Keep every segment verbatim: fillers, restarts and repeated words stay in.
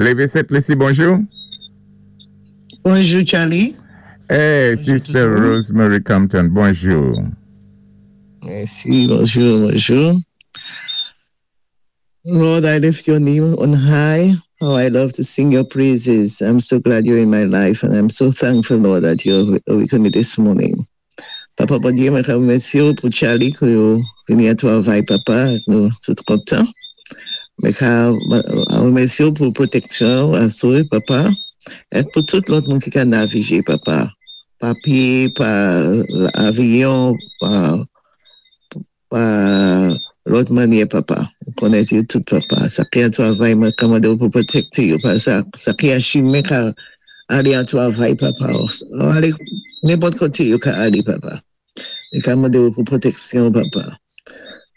Lévi Sent-Lisi, bonjou. Bonjou, Charlie. Hey, Sister Rosemary Compton, bonjou. Mèsi, bonjou, bonjou. Lord, I lift your name on high. How I love to sing your praises. I'm so glad you're in my life, and I'm so thankful, Lord, that you're with me this morning. Papa, Bondyé, mwen rémèsyé ou pou Charlie ki yo vini an twavay, papa, nou tout kontan. Mwen ka rémèsyé ou pou pwotèksyon asou, papa, é pou tout lòt moun ki ka navigé, papa. Pa pyé, pa avyon, pa, pa lòt mannyè, papa. Ou konnèt yo tout, papa. Sa ki an twavay, mwen ka mandé ou pou pwotékté yo, pa sa, sa ki an chimen ka alé an twavay, papa. Ou alé nenpòt koté yo ka alé, papa. Mwen ka mandé ou pou pwotèksyon, papa.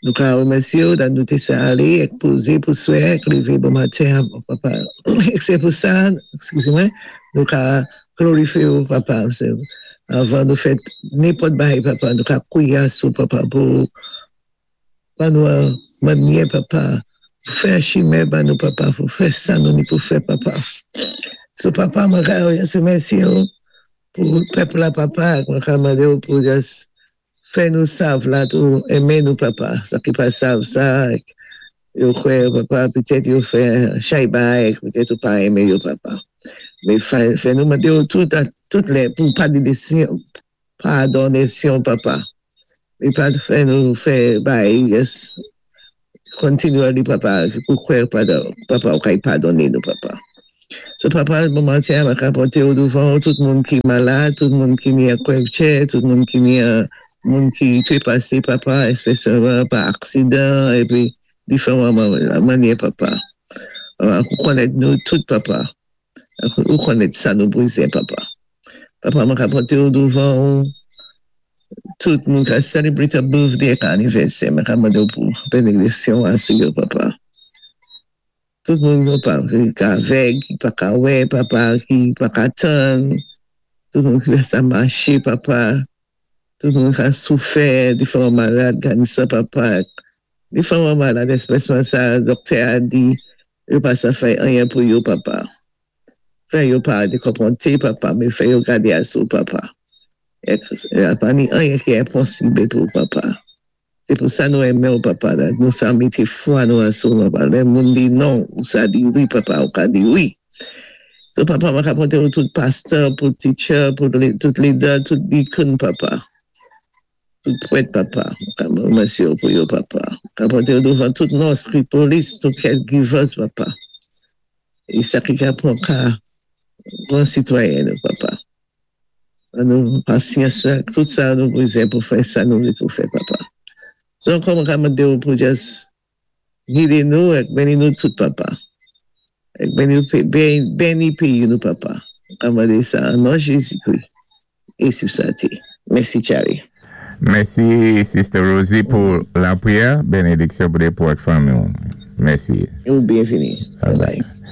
Nou ka rémèsyé ou dan nou té sa alé, ek pozé pou swè, ek lévé bon maten, papa. Ek sé pou sa, ekskizé mwen, nou ka glorifyé ou, papa. Sé, avan nou fè nenpòt bagay, papa, nou ka kwiyé sou, papa, pou ban nou mannyè, papa, pou fè chimen ban nou, papa, pou fè sa nou ni pou fè, papa. So, papa, mwen ka rémèsyé ou pou pèp la, papa, mwen ka mandé ou pou just fè nou sav la tou, enmen nou, papa. Sa ki pa sav sa, yo kwè, papa, petèt yo fè chay bagay, petèt ou pa enmen yo, papa. Mé fè, fè nou mandé ou tout, tout lè, pou padonésyon, padonésyon, papa. Mé pa fè nou fè bagay, yes, continually, papa, pou kwè, padon, papa, ou kay padoné nou, papa. So, papa, bon maten, mwen ka pòté ou douvan, tout moun ki malad, tout moun ki ni an kwèvtchè, tout moun ki ni an, moun ki twépasé, papa, espesyalman pa aksidan, épi diferan mannyè, papa. Ou konnèt nou tout, papa. Ou konnèt sa nou bézwen, papa. Papa, mwen ka pòté ou douvan, tout moun ka celebrate a birthday ak anivèsè, mwen ka mandé ou pou bénédiksyon asou yo, papa. Tout moun, papa, ki ka avèg, ki pa ka wè, papa, ki pa ka tann, tout moun ki sa maché, papa, tout moun ka soufè, diferan malad, kansa, papa, diferan malad, espesyalman sa, doktè a di, yo pa sa fè anyen pou yo, papa. Fè yo pa dékonpwanté, papa, mé fè yo gadé asou, papa. É pa ni anyen ki enposib pou papa. Sé pou sa nou enmen ou, papa, nou sa mété fwa nou asou, papa. Lè moun di non, ou sa di wi, papa, ou ka di wi. So, papa, mwen ka pòté ou tout pastè, pou teacher, pou tout leader, tout deacon, papa. Tout prèt, papa. Mèsi ou pou yo, papa. Ka pòté ou douvan tout nurse, polis, tout caregivers, papa. É sa ki ka pran ka bon sitwayen, nou, papa. Nou pasyans, tout sa nou bézwen pou fè sa nou vlé pou fè, papa. So, ankò mwen ka mandé ou pou just gidé nou ek béni nou tout, papa. Ek béni, béni péyi nou, papa. Ka mandé sa an non Jézi-Kri. É sou sa té. Mèsi, Charlie. Mèsi, Sister Rosie, pou lapwiyè. Bénédiksyon pou pou fanmi. Mèsi. Ou byenvini. Bye bye.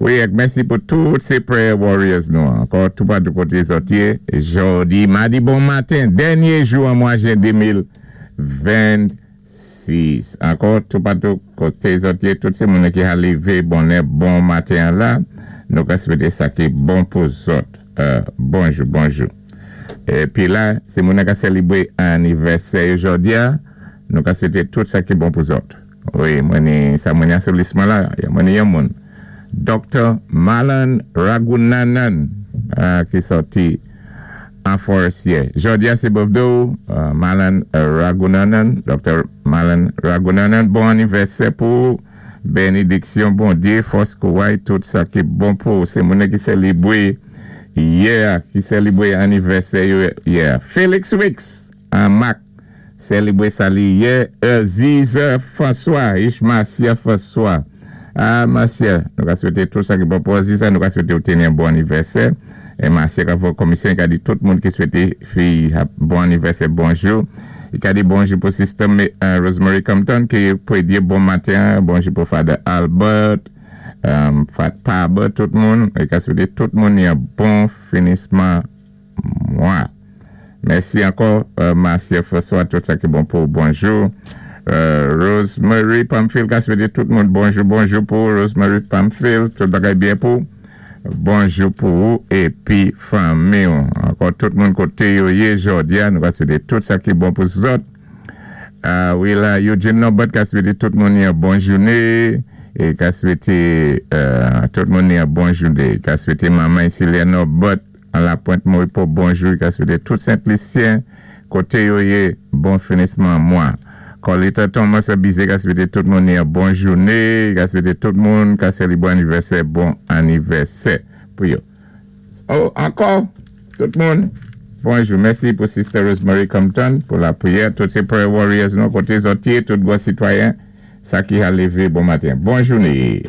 Wi, mèsi pou tout sé prayer warriors nou. Ankò tout patou koté zòt yé. Jodi, madi bon maten, dènyé jou an mwa jen de mil vennsis. Ankò tout patou koté zòt yé, tout sé moun ki a lévé bonè bon maten la. Nou ka swété sa ki bon pou zòt. Euh, bonjou, bonjou. Épi la, sé moun ki sélébwé anivèsè jodi a, nou ka swété tout sa ki bon pou zòt. Wi, mwen ni sa mwen sou lis mwen la, mwen ni yon moun. Doktè Malan Ragunanan euh, ki sòti an Forestier. Jodi a sé birthday euh, Malan Ragunanan, Doktè Malan Ragunanan, bon anivèsè pou bénédiksyon Bondyé, fòs kouway, tout sa ki bon pou sé moun ki sélébwé yè, ki sélébwé anivèsè yè. Félix Wicks, an Mac, sélébwé sa li yè, Ziza François, Ishmasia François. Ah, Marcia, nou ka swété tout sa ki bon pou Ziza, nou ka swété ou téni yon bon anivèsè. É Marcia ka fè komisyon, i ka di tout moun ki swété fi bon anivèsè, bonjou. I ka di bonjou pou Sister uh, Rosemary Compton ki pou di bon maten, bonjou pou Father Albert, um, Fat Paba, tout moun. I ka swété tout moun yon bon finisman mwa. Mèsi ankò, uh, Marcia François, tout sa ki bon pou bonjou. Euh, Rosemary Pamphile, ka swété tout moun bonjou, bonjou pou Rosemary Pamphile, tout bagay byen pou. Bonjou pou ou épi fanmi. Ankò tout moun koté yo yé jòdi a, nou ka swété tout sa ki bon pou zòt. Euh, wi la, Eugene Norbert ka swété tout moun yon bon jouné é ka swété euh, tout moun yon bon jouné. Ka swété manman Célia Norbert an la Pointe Moripo bonjou, ka swété tout Sent-Lisyen koté yo yé bon finisman mwa. Colita Thomas Abizé ka swété tout moun yon bon jouné, ka swété tout moun ka sélébwé anivèsè, bon anivèsè pou yo. Oh, ankò, tout moun, bonjou. Mèsi pou Sister Rosemary Compton pou lapriyè. Tout sé prayer warriors nou koté zòt yé, tout gwo sitwayen, sa ki a lévé bon maten. Bon jouné.